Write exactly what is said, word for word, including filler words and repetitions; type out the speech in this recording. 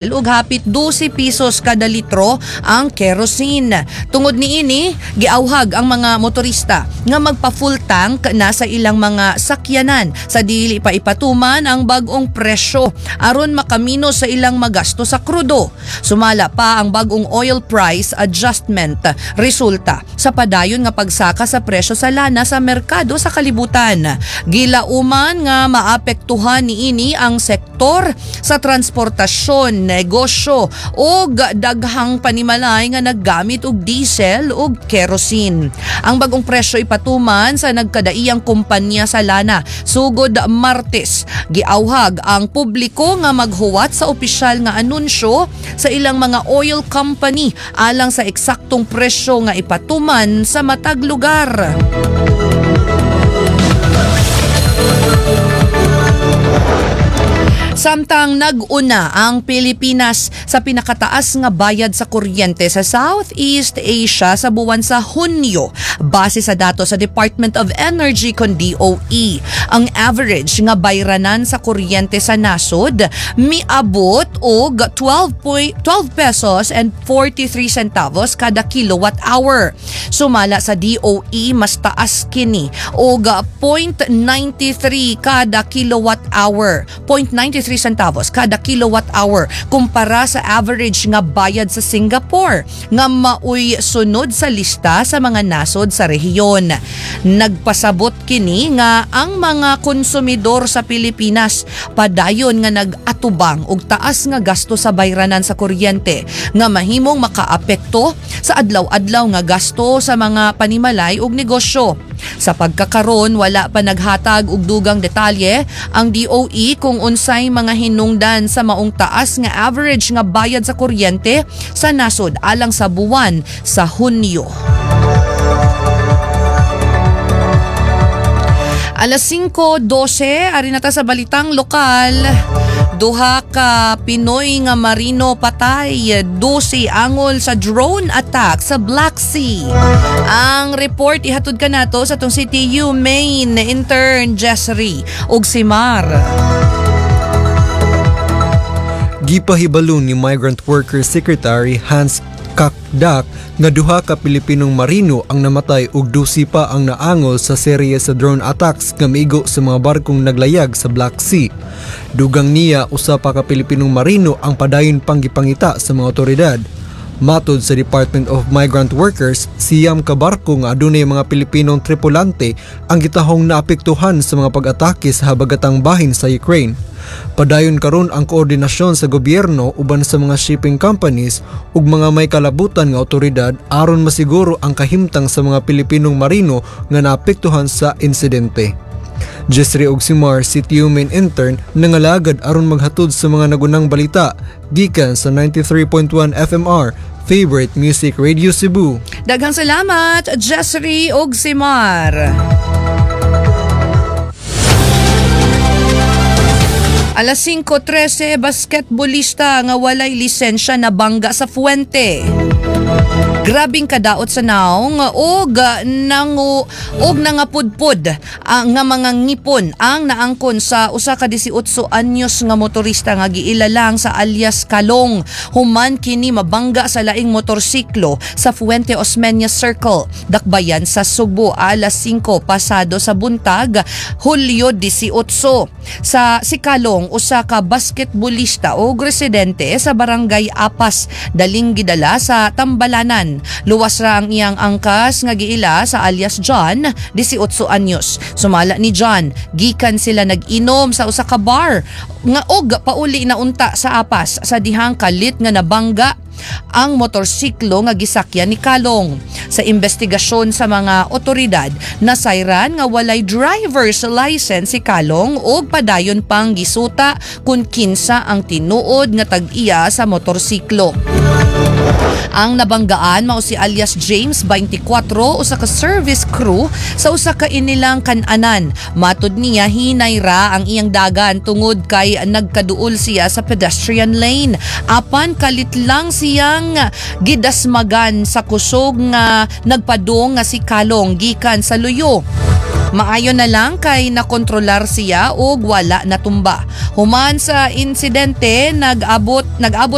Ug hapit dose pesos kada litro ang kerosene. Tungod niini, giawhag ang mga motorista nga magpa-full tank na sa ilang mga sakyanan sa dili pa ipatuman ang bag-ong presyo aron makamino sa ilang magasto sa krudo. Sumala pa ang bag-ong oil price adjustment, resulta sa padayon nga pagsaka sa presyo sa lana sa merkado sa kalibutan. Gilauman nga maapektuhan niini ang sektor sa transportasyon, negosyo ug daghang panimalay nga naggamit og diesel ug kerosene. Ang bagong presyo ipatuman sa nagkadaiyang kumpanya sa lana sugod Martes. Giawhag ang publiko nga maghuwat sa opisyal nga anunsyo sa ilang mga oil company alang sa eksaktong presyo nga ipatuman sa matag lugar. Samtang nag-una ang Pilipinas sa pinakataas nga bayad sa kuryente sa Southeast Asia sa buwan sa Hunyo, base sa datos sa Department of Energy kon D O E. Ang average nga bayranan sa kuryente sa nasod miabot og twelve point twelve pesos and forty-three centavos kada kilowatt hour. Sumala sa D O E, mas taas kini og zero point nine three kada kilowatt hour, zero point nine three centavos kada kilowatt hour kumpara sa average nga bayad sa Singapore nga maoy sunod sa lista sa mga nasod sa rehiyon. Nagpasabot kini nga ang mga konsumidor sa Pilipinas padayon nga nag-atubang og taas nga gasto sa bayranan sa kuryente nga mahimong makaapekto sa adlaw-adlaw nga gasto sa mga panimalay ug negosyo. Sa pagkakaron, wala pa naghatag og dugang detalye ang D O E kung unsay mga hinungdan sa maong taas nga average nga bayad sa kuryente sa nasod alang sa buwan sa Hunyo. Alas singko dose, ari na ta sa balitang lokal. Duha ka Pinoy nga marino patay, dose angol sa drone attack sa Black Sea. Ang report ihatod ka nato sa atong C T U main intern Jessry ug si Mar. Gipahibalo ni Migrant Workers Secretary Hans Cacdac nga duha ka Pilipinong marino ang namatay ug dusi pa ang naangol sa serye sa drone attacks nga miigo sa mga barkong naglayag sa Black Sea. Dugang niya, usa pa ka Pilipinong marino ang padayon pang gipangita sa mga otoridad. Matod sa Department of Migrant Workers, siyam ka barko nga adunay mga Pilipinong tripulante ang gitahong naapektuhan sa mga pag-atake sa habagatang bahin sa Ukraine. Padayon karon ang koordinasyon sa gobyerno uban sa mga shipping companies ug mga may kalabutan nga otoridad aron masiguro ang kahimtang sa mga Pilipinong marino nga naapektuhan sa insidente. Jessry Ogsimar, C T U main intern, nangalagad aron maghatod sa mga nagunang balita gikan sa ninety-three point one F M R, Favorite Music Radio Cebu. Daghang salamat, Jessry ug Simar. Alas singko trese, basketbolista nga walay lisensya na bangga sa Fuente. Grabing kadaot sa naong og nangu og nangapudpod ang nga mga ngipon ang naangkon sa usa ka labing walo anyos nga motorista nga giila lang sa alias Kalong human kini mabangga sa laing motorsiklo sa Fuente Osmeña Circle, Dakbayan sa Sugbo, alas singko pasado sa buntag, Hulyo labing walo. Sa si Kalong, usa ka basketbolista o residente sa Barangay Apas, daling gidala sa Tambalanan. Luwas ra ang iyang angkas nga giila sa alias John, labing walo anyos. Sumala ni John, gikan sila nag-inom sa usa ka bar nga og pauli na unta sa Apas sa dihang kalit nga nabangga ang motorsiklo nga gisakyan ni Kalong. Sa investigasyon sa mga otoridad, nasayran nga walay driver's license si Kalong ug padayon pang gisuta kung kinsa ang tinuod nga tag-iya sa motorsiklo. Ang nabanggaan mao si alias James, twenty-four, usa ka service crew sa usa ka inilang kananan. Matud niya, hinay ra ang iyang dagan tungod kay nagkaduol siya sa pedestrian lane. Apan kalit lang siyang gidasmagan sa kusog nga nagpadung nga si Kalong gikan sa luyo. Maayo na lang kay nakontrolar siya og wala natumba. Human sa insidente, nag-abot nag-abot